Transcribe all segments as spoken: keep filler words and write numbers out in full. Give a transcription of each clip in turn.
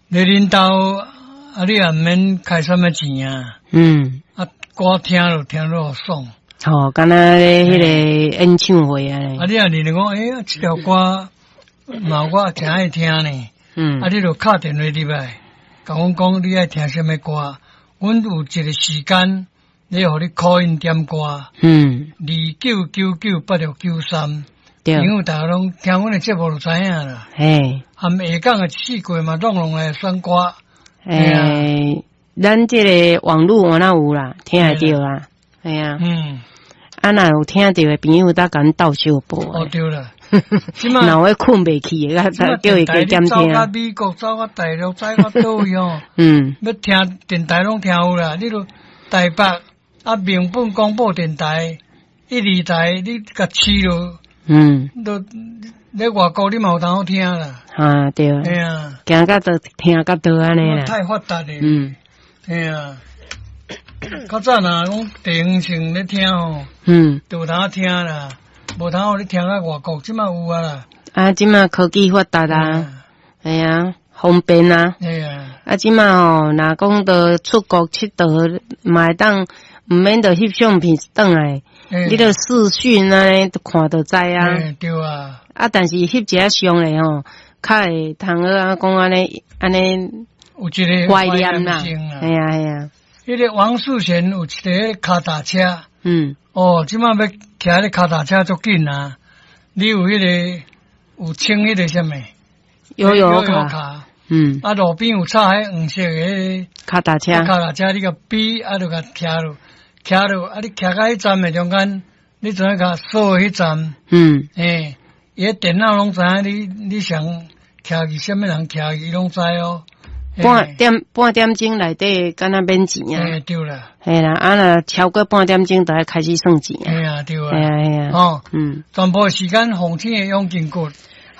你恁兜啊，你也毋免開啥物錢啊。嗯。啊，歌聽就聽落爽。吼，敢若咧彼个演唱會按呢。啊，你若認為講，欸，這條歌嘛我誠愛聽呢。嗯。啊，你就敲電話入來，共阮講你愛聽啥物歌，阮有一個時間，咧予你 call in 點歌。嗯。二九九九八六九三。對。朋友大家攏聽阮的節目就知影啦。嘿。含下港的四季嘛，攏攏來選歌。欸，咱這个網路我哪有啦，聽會著啦，嘿啊。嗯。啊，若有聽著的朋友，搭共阮鬥相報。哦，對啦。若有睏袂去的，叫伊加減聽。走到美國，走到大陸，走到佗位哦。嗯。欲聽電台攏聽有啦，你著台北啊，民本廣播電台一二台，你共試落。嗯。都咧外國你嘛有當好聽啦。啊，對。嘿啊。行到佗聽到佗按呢啦。太發達咧。嗯。嘿啊。較早若講地方性咧聽吼，嗯，就有通聽啦，無通予你聽到外國，這馬有啊啦。啊，這馬科技發達啊，嘿啊，方便啊。嘿啊。啊，這馬吼，若講著出國𨑨迌，嘛會當毋免著翕相片轉來，你著視訊按呢，都看就知啊。對啊。啊，但是翕一下相咧吼，較會通好啊，講按呢按呢有一個懷念啦。嘿啊嘿啊。彼個王世賢有一個跤踏車，嗯，哦，這馬欲騎彼跤踏車足緊啊！你有彼個有穿彼個啥物？悠遊卡，卡，嗯，啊，路邊有插彼黃色的跤踏車，跤踏車你共比，啊，就共騎落，騎落，啊，你騎到彼站的中間，你怎影共掃彼站？嗯，欸，伊个電腦攏知影你你想騎去啥物人騎去，伊攏知哦。半點半點鐘內底，敢若免錢啊？欸，對啦。嘿啦，啊若超過半點鐘，就愛開始算錢啊。嘿啊，對啊。嘿啊，嘿啊。哦，嗯。全部時間鳳青的養筋骨，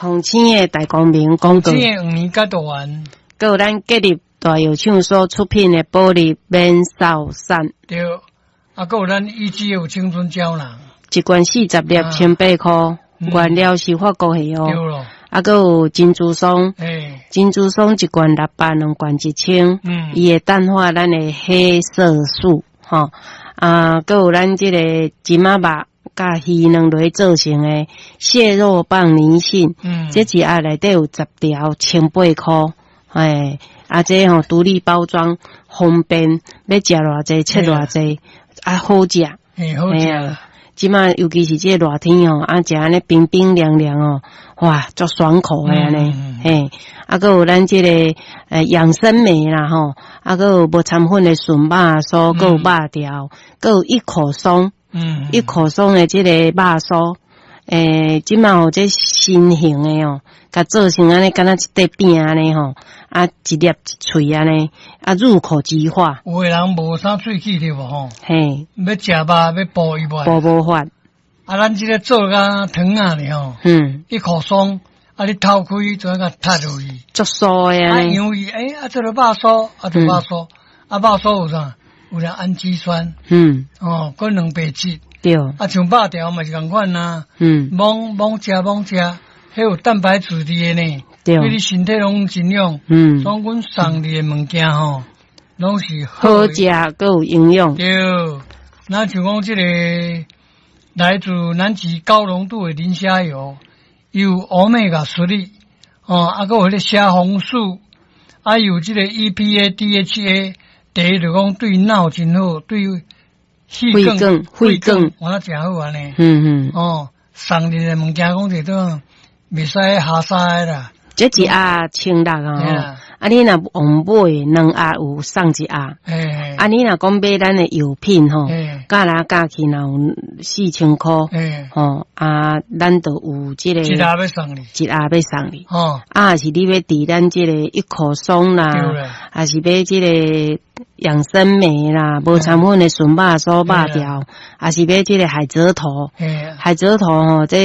鳳青的大光明廣告，鳳青的黃連甲豆丸，閣有咱吉立大藥廠所出品的保利免掃散。對，啊，閣有咱一支有青春膠囊，一罐四十粒，千八箍，原料是法國的哦。對囉。啊，閣有珍珠霜，珍珠霜一罐六百，兩罐一千，伊會淡化咱的黑色素，吼。啊，閣有咱這個金仔肉佮魚卵來做成的蟹肉棒泥信，這一盒內底有十條，千八箍，欸，啊，這吼獨立包裝，方便，欲食偌濟切偌濟，啊，好食，好食。這馬尤其是這個熱天吼，啊，食按呢冰冰涼涼哦，哇，足爽口的按呢，嘿，啊，閣有咱這個呃養生莓啦吼，啊，閣有無摻粉的純肉酥，閣有肉條，閣有一口鬆，嗯，一口鬆的這個肉酥，欸，這馬吼這新型的哦，共做成按呢，敢若一塊餅按呢吼，啊，一粒一喙按呢，啊，入口即化。有的人無啥喙齒對無吼？嘿，欲食肉欲補伊無？補無法。啊，咱這個做甲糖仔呢吼，嗯，一口鬆，啊，你掏開就共踢落去，足酥的啊，因為欸，啊，這個肉酥，啊，這個肉酥，啊，肉酥有啥？有啥氨基酸？嗯，哦，閣蛋白質。對。啊，像肉條嘛是仝款啊。嗯。猛猛食猛食，彼有蛋白質佇个呢。對。對你身體攏有營養。嗯。所以阮送你的物件吼，攏是好食，閣有營養。對。那像講這個來自南極高濃度的磷蝦油，有歐米伽三，哦，啊，閣有彼個蝦紅素，啊，有這個 E P A、D H A，第一就講對腦真好，對血管、血管，我那誠好按呢。嗯嗯。哦，送你的物件講這種袂使下沙的啦。這一盒千六啊！啊，你若用買兩盒有送一盒。啊，你若講買咱的藥品吼，加來加去若有四千箍。吼啊，咱就有這個一盒欲送你，一盒欲送你。哦，啊，是你欲佇咱這個一口鬆啦，還是買這個養生莓啦，無摻粉的純肉酥肉條，還是買這個海蜇頭？海蜇頭吼，這。